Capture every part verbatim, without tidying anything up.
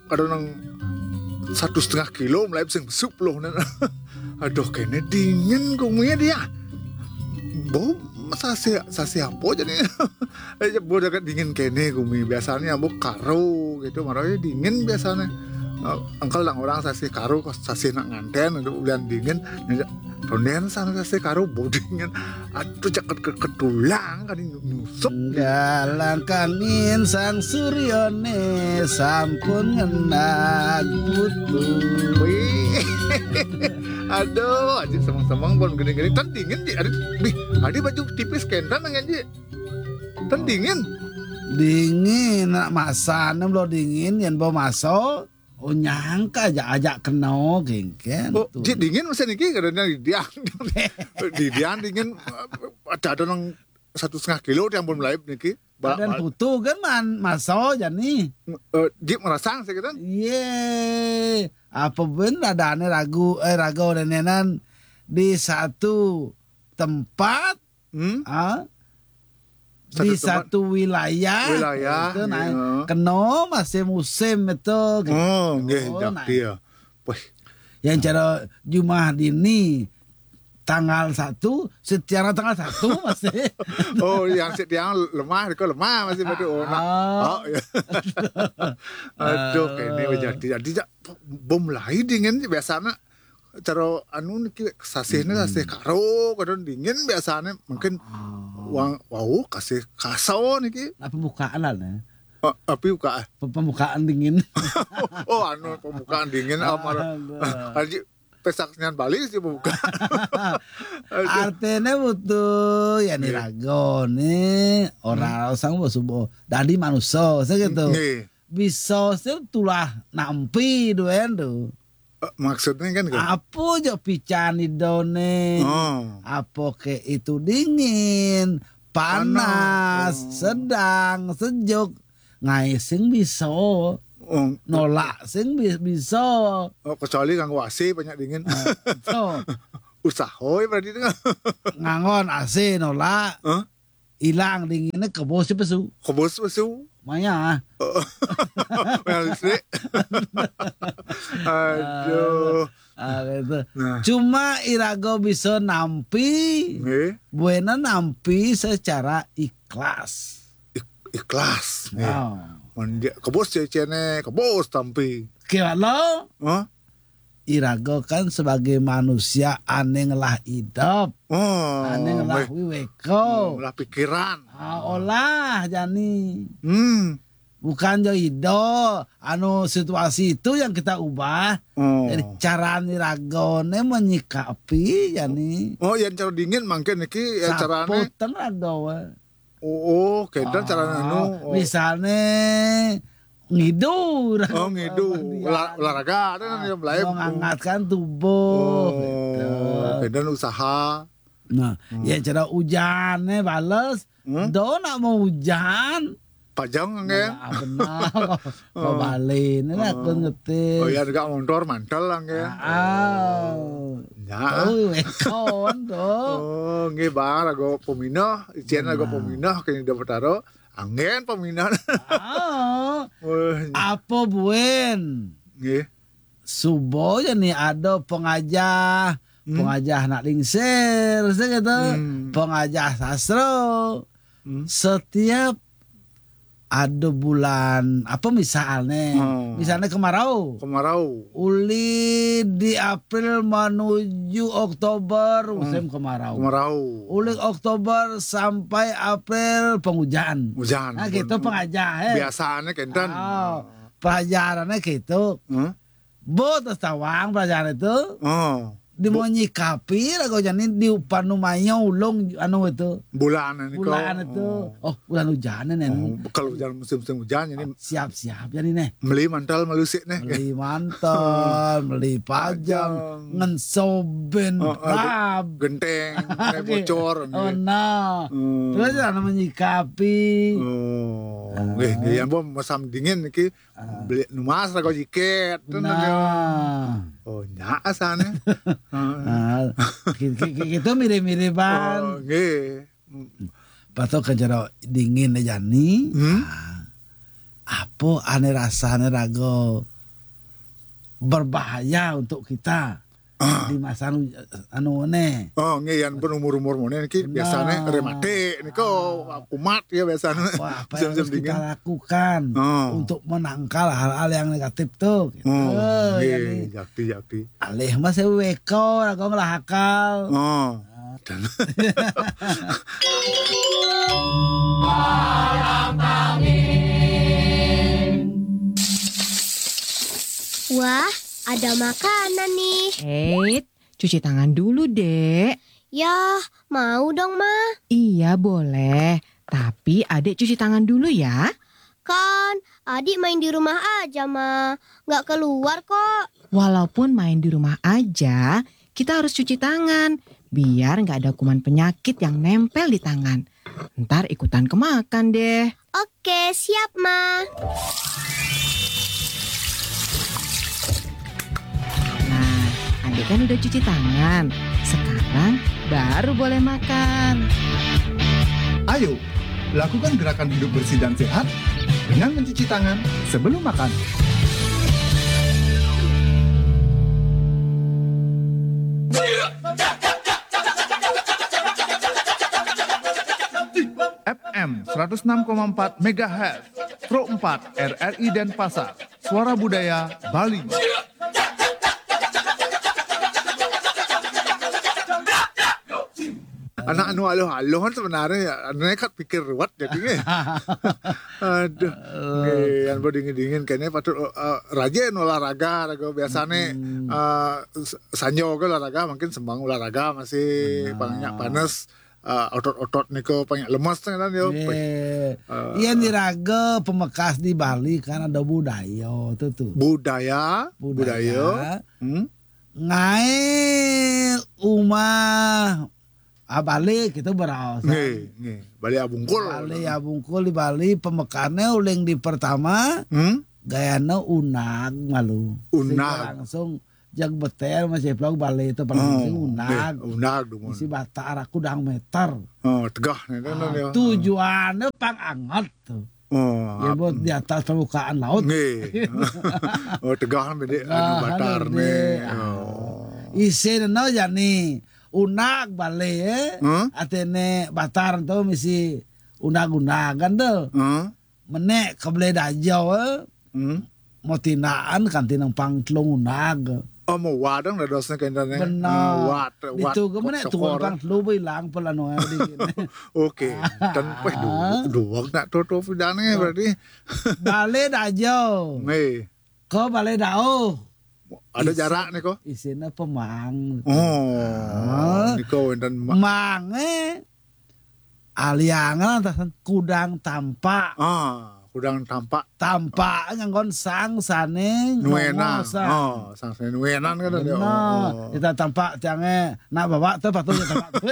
Kadang nang satu setengah kilo mulai sing besuk loh. Aduh, kene dingin kuminya dia. Bau sasih sasih apa jadi? Eh, bau dekat dingin kene kumi. Biasanya bau karo gitu, marahnya dingin biasanya. Eh, engkel nang orang sasih karo, kok sasih nak nganten, itu ulian dingin. Ronden sana sasih karo bau dingin. Aduh, jaket ke ketulang kan nyusuk. Galang kangin sang suryone sampun ngenag putu. Wih. Aduh, aja semang-semang pun gini-gini. Kan dingin, Ji. Aduh, bih, adi baju tipis kentan nang, Ji. Kan dingin. Dingin, nak masan, belum dingin, yang bawa masuk. Oh, nyangka aja, aja kena, gengken. Oh, tuh. Ji, dingin masih niki, kadang di diang. Di diang dingin, ada, ada nang satu setengah kilo yang belum laib niki. Ba-, Badan ba-, putu kan man, maso jani. Eh, Ji merasang sih kita. Iye, apa ben adane ragu, eh, ragu nenenan di satu tempat, Hmm? Ah, di Satu tempat. Satu wilayah, Wilayah, gitu, nah, iya. Kena masih musim itu, gitu. Oh, nggih, Oh, jak nah. Dia. Wih. Yang cara Jumah dini tanggal satu, setiara tanggal satu masih. Oh, yang setiara lemah, itu lemah masih betul. Oh, nah. Ah. Oh, iya. Aduh, kayak ini Ah. Jadi, jadi, jak, bom lain dingin biasanya. Cara anu niki sasihnya Hmm. Sasih karo, kadang dingin biasanya. Mungkin Ah. Wang, wau kasih kaso niki. Nah, pembukaan lah, nah. Oh, tapi buka. Pe-, pembukaan dingin. Oh, anu, pembukaan dingin, Ah, amar-, aduh. Haji, pesak nyan Bali sih pembukaan. Aduh. Artinya butuh, ya, nih, Nggih. Rago nih, orang Hmm. Sang subuh. Dadi manusia, saya gitu. Nggih. Bisa sih tulah nampi duen tuh. Eh, maksudnya kan gitu. Apa aja pican idone? Oh. Apa ke itu dingin, panas, Panas. Oh. Sedang, sejuk. Ngai sing bisa. Oh. Nolak sing bi-, bisa. Oh, kecuali kanggo A C banyak dingin. Eh, so. Usaha ya berarti itu. Ngangon A C nolak. Hah? Ilang dinginnya kebos si pesu. Kebos pesu. Maya. Oh. Yang listrik. Aduh. Ah, gitu. Nah. Cuma irago bisa nampi, Nggih. Buena nampi secara ikhlas. Ik-, ikhlas, nggih. Oh. Mun dia kebos cecene, kebos tampi. Kira lo? Hah? Irago kan sebagai manusia ane ngelah idep. Oh, Ane ngelah nggih. Wiweko. Hmm, ngelah pikiran. Ah, olah jani. Hmm. Bukan jo ido, anu, situasi itu yang kita ubah. Oh. Jadi cara ni ragone menyikapi jani. Oh, yang cara dingin mungkin niki ya carane. Saputeng rago, eh. Oh, oh, keda carane anu. Oh. Misalnya ngidu, Oh, ngidu. Olah-, olahraga ada kan yang lain. Menghangatkan tubuh, Oh, gitu. Keda usaha. Nah, Hmm. Ya cara hujannya bales. Hmm? Do nak mau hujan. Pajang, angge. Nah, benar. Kau Oh. Balik. Ini aku Oh. Ngetis. Oh, ya, dekat motor mantel, angge. Ah, ah. Oh. Ya. Oh, ekon tuh. Oh, nggih, Bang, lagu peminah, icen lagu Benar. Peminah, kini dapat taruh. Anggen peminah. Ah. Wah. Apa buen? Nggih. Subo ya nih ada pengajah, Hmm. Pengajah nak lingsir, saya gitu. Hmm. Pengajah sastra. Hmm. Setiap ada bulan, apa misalnya? Oh. Misalnya kemarau. Kemarau. Uli di April menuju Oktober, Hmm. Musim kemarau. Kemarau. Uli Oktober sampai April penghujan. Hujan. Nah, gitu pengajah, eh. Biasanya kenten. Oh, pelajarannya gitu. Hmm? Bo, terus tawang pelajaran itu. Oh. Di Bo- mau nyikapi lah kau jani di upanu mayo ulung anu itu. Bulan ini Bulan kau. Itu. Oh. Oh, bulan hujan ini. Oh, kalau hujan musim-musim hujan ini. Siap-siap jani nih. Beli mantel melusik nih. Beli mantel, beli pajang, Pajang. Ngensoben, Oh, oh, rab. Genteng, Oke. Bocor. Oh, nih. Nah. Hmm. Terus anu menyikapi. Oh, Ah. Nggih, nggih, yang bom masam dingin niki Ah. Beli numas lah kau jiket. Nah. Oh, nya asane. Nah, ki-, ki-, ki-, gitu mirip-miripan. Oh, nggih. Pato ke jero dingin jani. Hmm? Ah. Apa ane rasane rago berbahaya untuk kita di masa anu, anu ne. Oh, nggih, yan pun umur-umur mone niki biasane rematik niku kumat ya biasane. Wah, apa yang harus kita lakukan untuk menangkal hal-hal yang negatif tuh? Gitu. Oh, nggih, yakti, yakti. Alih mah saya weko, aku ngelah akal. Oh. Dan Wah, ada makanan nih. Eits, cuci tangan dulu, Dek. Ya, mau dong, Ma. Iya, boleh. Tapi Adek cuci tangan dulu ya. Kan, Adik main di rumah aja, Ma. Nggak keluar kok. Walaupun main di rumah aja, kita harus cuci tangan. Biar nggak ada kuman penyakit yang nempel di tangan. Ntar ikutan kemakan deh. Oke, siap, Ma. Nah, Adek kan udah cuci tangan. Sekarang baru boleh makan. Ayo, lakukan gerakan hidup bersih dan sehat dengan mencuci tangan sebelum makan. F M seratus enam koma empat megahertz, Pro empat R R I Denpasar, Suara Budaya Bali. Anak anu aluh-aluh kan sebenarnya ya, nekat pikir ruwet jadi nggih. Aduh. Nggih, yang dingin-dingin kene patut uh, rajin olahraga, raga biasane uh, sanjo ke olahraga, mungkin sembang olahraga masih banyak panas, uh, otot-otot niko banyak lemas kan yo. Iya, uh, iya, di raga pemekas di Bali kan ada budaya tuh tuh. Budaya, budaya. budaya. Hmm? Ngai umah Ah, Bali kita beraos. Nggih, nggih. Bali Abungkul. Bali Abungkul di Bali pemekane uling di pertama. Hmm? Gayana unag malu. Unag. Langsung jag beter masih plog Bali itu paling oh, unag. Unag dumun. Isi batar aku dang meter. Oh, tegah nih kan. Ah, tujuannya pang anget tuh. Oh, ya buat di atas permukaan laut. Nggih. Oh, tegah bede anu batar nih. Oh. Isin no jani unag balik eh. Huh? Atene batar tu misi unag-unagan tu. Huh? Menek ke beli dajau eh. Hmm? Mau tinaan kan tinang pang telung unag. Oh, mau wadang dah dosnya ke intane. Benar. Wat, wat. Itu ke menek tu pang telung hilang pelanu. Oke. Dan peh dua dua nak toto pidane berarti. Balik dajau. Nggih. Ke balik dauh. Ada jarak nih kok. Isina pemang. Oh. Niko wonten mang eh aliangan atasan kudang tampak. Ah, kudang tampak. Tampak nganggon sang sane nuenan. Oh, sang sane nuenan kan ada. Oh. Kita tampak tiange nak bawa tu patut tampak tu.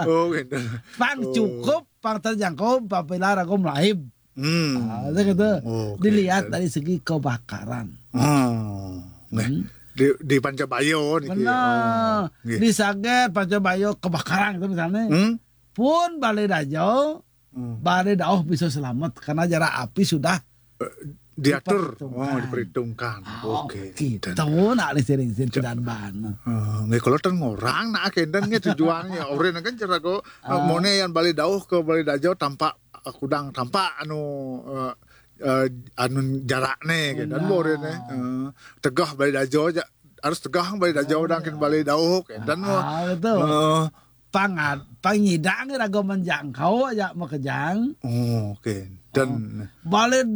Oh, gitu. Pang oh. Cukup, pang terjangkau, pang pilar aku melaib. Hmm. Nah, gitu. Oh, okay. Dilihat dari segi kebakaran. Oh, hmm. Di, di Pancabayo niki. Benar. Oh, di Saget Pancabayo kebakaran itu misalnya. Hmm? Pun Balai Dajau, hmm. Balai Dauh bisa selamat karena jarak api sudah eh, diatur, diperhitungkan. Oh, diperhitungkan. Ah, oke. Okay. Gitu. Tahu nak sering sering dan ban. Nggih kalau ten ngorang nak kendang nggih tujuannya. Oren kan cara kok ah. Mone yang Balai Dauh ke Balai Dajau tampak kudang tampak anu uh, uh, anu jarakne gitu kan borene uh, tegah Balai Dajau aja harus tegah Balai Dajau dan kin Balai Dauh gitu dan mau ah, betul. Uh, Pangat, pangidang raga menjangkau aja makejang. Oh, oke. Okay. Dan oh. Balik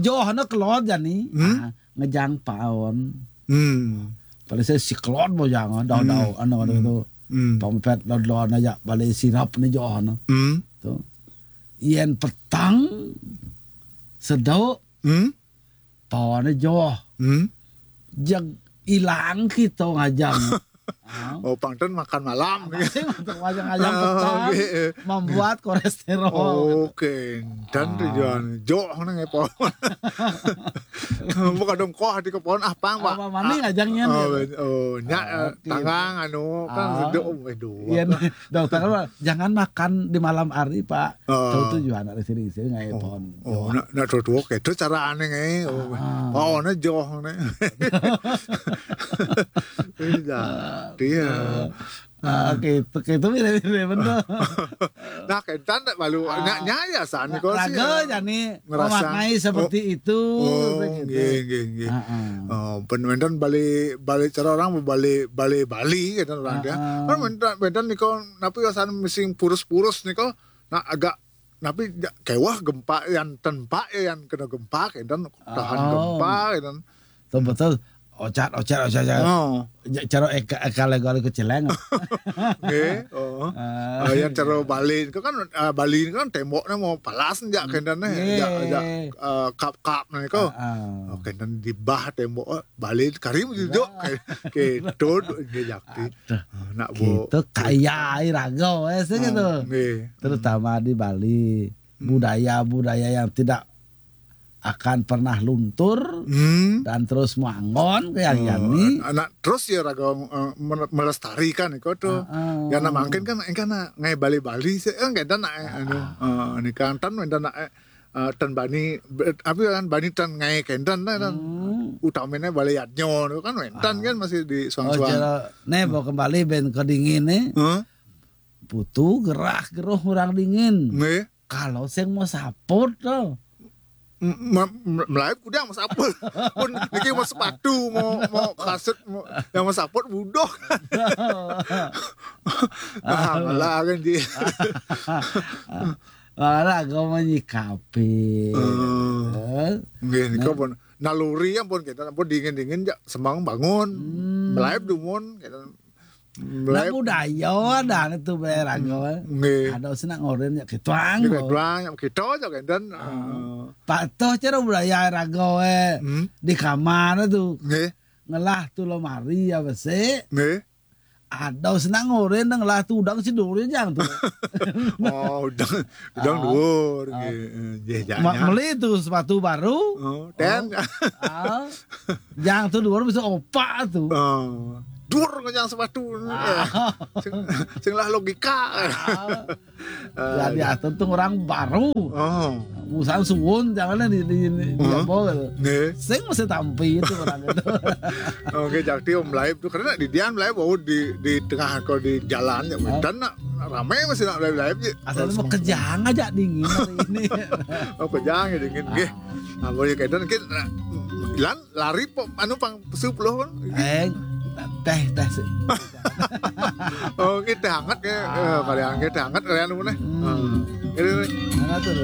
joh na kelot jani. Hmm? Ah, ngejang paon. Hmm. Pada saya si kelot mau jangan dau dau hmm. Anu anu hmm. Tu. Hmm. Pampet dau dau aja balik sirap ni joh na. Hmm. Tu. Yen petang sedok. Hmm. Paon joh. Hmm. Jag ilang kita ngajang. Oh, pang ten makan malam. Apa sih untuk ngajang-ngajang pecel membuat kolesterol? Oke, dan tujuan jok nang epon. Bukan dong, kok di kepon ah, pang, Pak. Apa mani ngajangnya? Oh, nya, tanggang anu kan sedek, oh, aduh. Iya, dokter kan, "Jangan makan di malam hari, Pak." Tuh tujuan ada sering-sering nggak epon. Oh, nak, nak tuh, tuh, oke, itu cara aneh, eh. Oh, oh, nah, joh, nih. Iya, dia. Ah, gitu, gitu, mirip-mirip bener. Nah, kentan tak malu, nya, nya ya, san, kok sih, raga ya, jani ngerasa, memaknai seperti itu, oh, gitu. Nggih, nggih, nggih. Oh, ben wénten bali, bali cara orang bali, bali Bali, gitu, orang dia. Kan wénten, wénten nika, napi ya, san, mesti purus-purus nika, nah, agak, napi, ya, kewah gempa, yang tempa ya, yang kena gempa, gitu, tahan gempa, gitu. Betul, betul. Ocat, ocat, ocat, ocat. Oh. Ja-, cara eka, eka lego-lego celeng. Nggih, oh. Ah. Ah, yang cara Bali itu kan, ah, Bali itu kan temboknya mau palas, ya, kendane. Nggih. Ya, ya, eh, kap-kap, nah, itu. Ah, ah. Oh, kendane di bah tembok, oh, Bali karim juga. Kayak, kayak dod, nggih, jakti. Aduh. Ah, nak bo-, gitu, kaya air raga, eh, sih gitu. Hmm, nggih. Terutama di Bali, budaya-budaya yang tidak akan pernah luntur dan terus manggon, kayak yani. Anak terus ya raga, eh, mele-, melestarikan iko tuh. Ya, nah, mangkin kan, kan, nah, ngai Bali-Bali sih, eh, nggak ada nak, eh, anu, eh, ini kan tan, ada nak, eh, eh, tan bani, be-, apa kan, bani tan ngai kendan, nah, kan. Utamanya Bali Yadnyo tuh kan, wentan kan masih di suang-suang. Oh, cara, nih, bawa kembali ben ke dingin nih. Hah? Butuh gerah geruh orang dingin. Nggih. Kalau sing mau saput tuh. M-, me-, me-, melayu kudu mau saput. Pun niki mau sepatu, mau, mau kasut, mau, yang mau saput budoh. Ah, malah kan di. Malah aku menyikapi. Eh. Eh. Nggih, nika pun naluri ampun kita, ampun dingin-dingin ya semang bangun. Hmm. Melayu dumun, kita. Nah, budaya ada itu, Bray, raga. Nggih. Ada sing nak ngoren ya kituang. Nggih, kituang, ya kita aja kan, dan, eh. Patuh cara budaya raga, eh. Hmm. Di kamar itu. Nggih. Ngelah tuh lemari ya, besik. Nggih. Ada sing nak ngoren, ngelah tuh udang si duri jang tuh. Oh, udang, udang dhuwur, nggih. Eh, nggih, janya. Meli tuh sepatu baru. Oh, ten. Ah. Jang tuh dhuwur bisa opak tuh. Oh. Dur ngejang sepatu. Ah. Sing, sing lah logika. Ah. Jadi, ah, tentu orang baru. Oh. Busan suwun, jangan di, di, di, di apa gitu. Nggih. Sing mesti tampi itu orang itu. Oke, jadi Om Laib tuh, karena di Dian Laib, oh, di, di tengah kau di jalan, ya, dan nak rame masih nak Laib-Laib, ya. Asal mau kejang aja dingin hari ini. Oh, kejang ya dingin, nggih. Nah, boleh kayak dan kita, nah, lan lari po, anu pang sepuluh kan? Eh, teh, teh sih. Oh, ini teh hangat ya. Ah. Eh, kalian ini teh hangat kalian mana? Hmm. Hmm. Ini, ini. Hangat tuh.